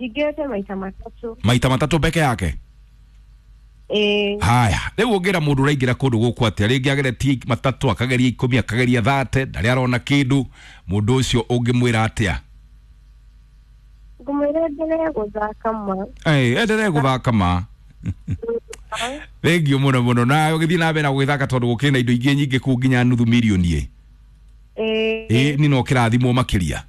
Njingĩrĩte maita 3. Maita 3 peke yake? Ĩĩ. Haya, rĩu ũngĩra mũndũ ũraingĩra kũndũ gũkũ atĩa? Rĩngĩ ageretie 3, akageria 10, akageria 30, ndarĩ arona kĩndũ. Mũndũ ũcio ũngĩmwĩra atĩa? Ngũmwĩra endelee gũthaka ma. Endelee gũthaka ma. Thengiũ mũno mũno. Na ũgĩthiĩ na mbere na gũgĩthaka tondũ gũkĩrĩ na indo ingĩ nyingĩ kũu nginya nuthu mirioni ĩ. Ĩĩ. Ĩ ni no kĩrathimwo makĩria.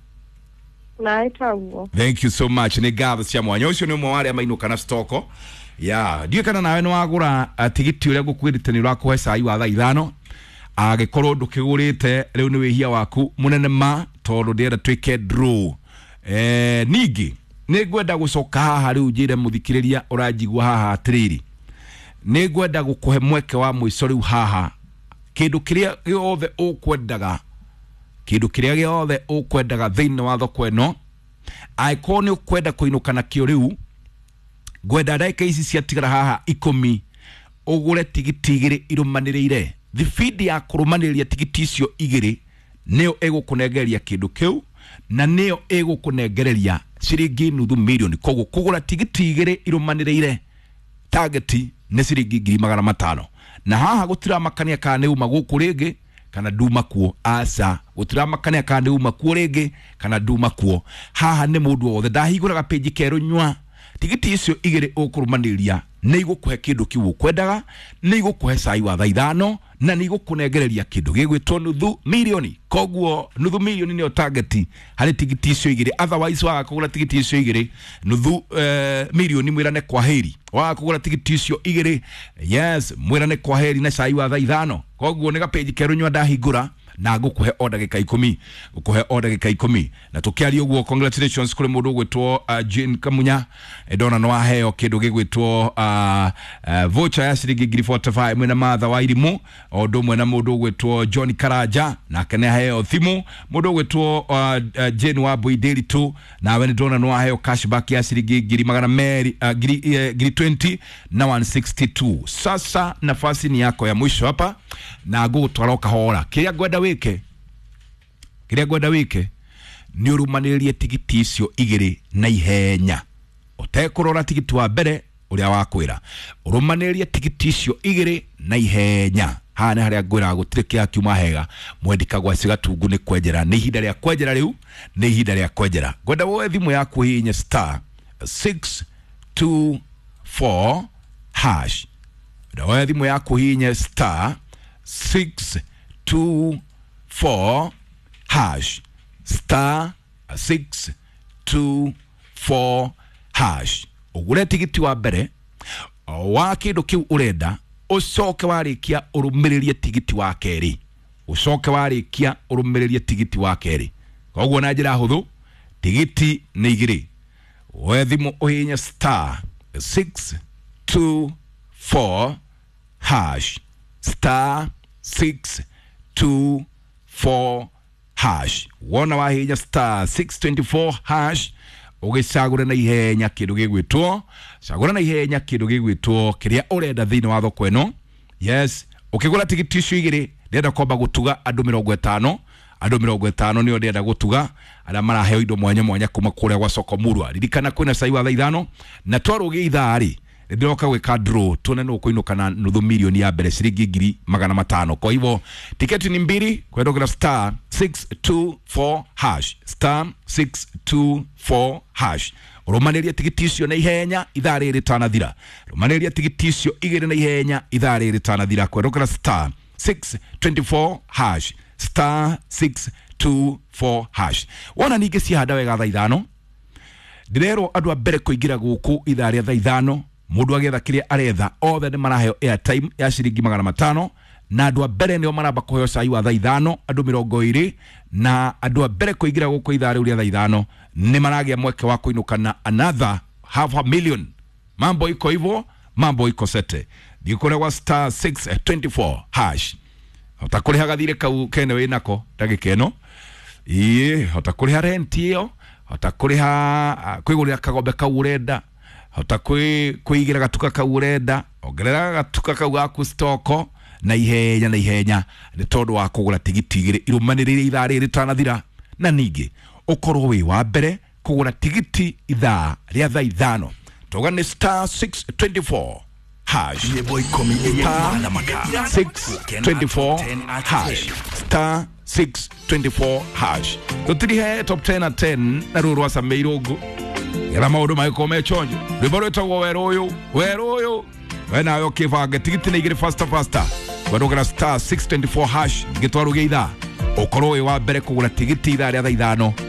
Nawe taguo. Thank you so much. Nĩ ngatho cia mwanya. Ũcio nĩ ũmwe wa arĩa mainũka na stoko. Ya, ndiũĩ kana nawe nĩ wagũra tigiti ũrĩa ngũkwĩrĩte nĩ ũrakũhe cai wa thaa 5. Angĩkorwo ndũkĩgũrĩte rĩu nĩ wĩhia waku mũnene ma, tondũ ndĩrenda twĩke draw. Ningĩ nĩ ngwenda gũcoka haha rĩu njĩre mũthikĩrĩria ũranjigua haha atĩrĩrĩ, nĩ ngwenda gũkũhe mweke wa mũico rĩu haha. Kĩndũ kĩrĩa gĩothe ũkwendaga, kĩndũ kĩrĩa gĩothe ũkwendaga thĩinĩ wa thoko ĩno, angĩkorwo nĩ ũkwenda kũinũka nakĩo rĩu, ngwenda ndagĩka ici ciatigara haha 10 ũgũre tigiti 2 irũmanĩrĩire. Thibindi ya kũrũmanĩrĩria tigiti icio 2 nĩyo ĩgũkũnengereria kĩndũ kĩu, na nĩyo ĩgũkũnengereria ciringi nuthu mirioni. Koguo kũgũra tigiti 2 irũmanĩrĩire target nĩ ciringi ngiri magana matano. Na haha gũtiramakania kana nĩ uma gũkũ rĩngĩ kana nduma kuo. Aca, gũtiramakania kana nĩ uma kuo rĩngĩ kana nduma kuo. Haha nĩ mũndũ wothe ndahingũraga page kerũ nyua. Tigiti icio 2 ũkũrũmanĩrĩria nĩ igũkũhe kĩndũ kĩu ũkwendaga, nĩ igũkũhe cai wa thaa 5, na nĩ igũkũnengereria kĩndũ gĩgwĩtwo nuthu mirioni. Koguo nuthu mirioni nĩyo target harĩ tigiti icio 2. Otherwise waga kũgũra tigiti icio 2, nuthu mirioni mwĩrane kwaheri. Waga kũgũra tigiti icio 2, yes, mwĩrane kwaheri na cai wa thaa 5. Koguo nĩ gapĩnji kerũ nyua ndahingũra na ngũkũhe o ndagĩka 10, ngũkũhe o ndagĩka 10. Na tũkĩaria ũguo, congratulations kũrĩ mũndũ ũgwĩtwo Jane Kamunya. Ndona nĩ waheo kĩndũ gĩgwĩtwo voucher ya ciringi ngiri 45 mwena Martha wa Irimũ, o ũndũ ũmwe na mũndũ ũgwĩtwo John Karanja, nake nĩ aheo thimũ. Mũndũ ũgwĩtwo Jane wa Mbui Ndiritu, nawe nĩ ndona nĩ waheo cashback ya ciringi ngiri magana merĩ, ngiri 20 na 162. Sasa nafasi ni yako ya mwisho hapa, na ngũgũtwara o kahora. Kĩrĩa ngwenda wĩke, kĩrĩa ngwenda wĩke nĩ ũrũmanĩrĩrie tigiti icio 2 na ihenya, ũtekũrora tigiti wa mbere ũrĩa wakwĩra. Ũrũmanĩrĩrie tigiti icio 2 na ihenya. Haha nĩ harĩa ngwĩraga gũtirĩ kĩrĩa kiuma hega. Mwendi Kagwaci Gatungu nĩ kwenjera, nĩ ihinda rĩa kwenjera rĩu, nĩ ihinda rĩa kwenjera. Ngwenda woe thimũ yaku ũhihinye star 624 hash. Ngwenda woe thimũ yaku ũhihinye star 624 hash, star 624 hash. Ũgũre tigiti wa mbere wa kĩndũ kĩu ũrenda, ũcoke warĩkia ũrũmĩrĩrie tigiti wa kerĩ, ũcoke warĩkia ũrũmĩrĩrie tigiti wa kerĩ. Koguo na njĩra hũthũ, tigiti nĩ 2. Woe thimũ ũhihinye star 624 hash, star 624 hash. Wona wahihinya star 624 hash, ũgĩcagũre na ihenya kĩndũ gĩgwĩtwo, cagũra na ihenya kĩndũ gĩgwĩtwo kĩrĩa ũrenda thĩinĩ wa thoko ĩno. Yes, ũkĩgũra tigiti icio 2, ndĩrenda kwamba gũtuga andũ 50, andũ 50 nĩo ndĩrenda gũtuga, arĩa maraheo indo mwanya mwanya kuma kũrĩa gwa Soko Murwa. Ririkana kwĩna cai wa thaa 5, na twarũgia ithaa rĩ, ndĩroka gwĩka draw tuone nũ ũkũinũka na nuthu mirioni ya mbere ciringi ngiri magana matano. Kwa hivyo tiketi ni 2 kwendokera star 624 hash, star 624 hash. Ũrũmanĩrie tigiti icio na ihenya ithaa rĩrĩ rĩtanathira. Rũmanĩria tigiti icio 2 na ihenya ithaa rĩrĩ rĩtanathira kwendokera star 624 hash, star 624 hash. Wona ningĩ cihanda wega thaa 5, ndĩrerwo andũ a mbere kũingĩra gũkũ ithaa rĩa thaa 5, mũndũ agĩetha kĩrĩa aretha, othe nĩ maraheo airtime ya ciringi magana matano, na andũ a mbere nĩo maramba kũheo cai wa thaa 5, andũ 20, na andũ a mbere kũingĩra gũkũ ithaa rĩu rĩa thaa 5 nĩ maragĩa mweke wa kũinũka na another half a million. Mambo iko hivyo, mambo iko sete. Thiĩ kũrĩa gwa star 624 hash. Hota kũrĩha gathirĩ kau kene wĩnako ndagĩka ĩno. Ĩĩ, hota kũrĩha rent ĩyo, hota kũrĩha, kwĩgũrĩra kagombe kau ũrenda, hota kwĩigĩra gatuka kau ũrenda, ongerera gatuka kau gaku stoko na ihenya na ihenya, nĩ tondũ wa kũgũra tigiti 2 irũmanĩrĩire ithaa rĩrĩ rĩtanathira. Na ningĩ ũkorwo wĩ wa mbere kũgũra tigiti ithaa rĩa thaa 5 toga nĩ star 624 hash. Nyĩmbo ikũmi iria Star irathamaka. 624 hash, star 624 hash. Tũtirihe top 10 na 10 na rũrũ rwa Sameirũngũ getha maũndũ magĩkorwo me chonjo. Rwĩmbo rwĩtagwo werũ ũyũ, werũ ũyũ we nawe ũkĩbange tigiti nĩ igĩrĩ faster faster werũgera star 624 hash gĩtwaro gĩa ithaa ũkorwo wĩ wa mbere kũgũra tigiti ithaa rĩa thaa 5.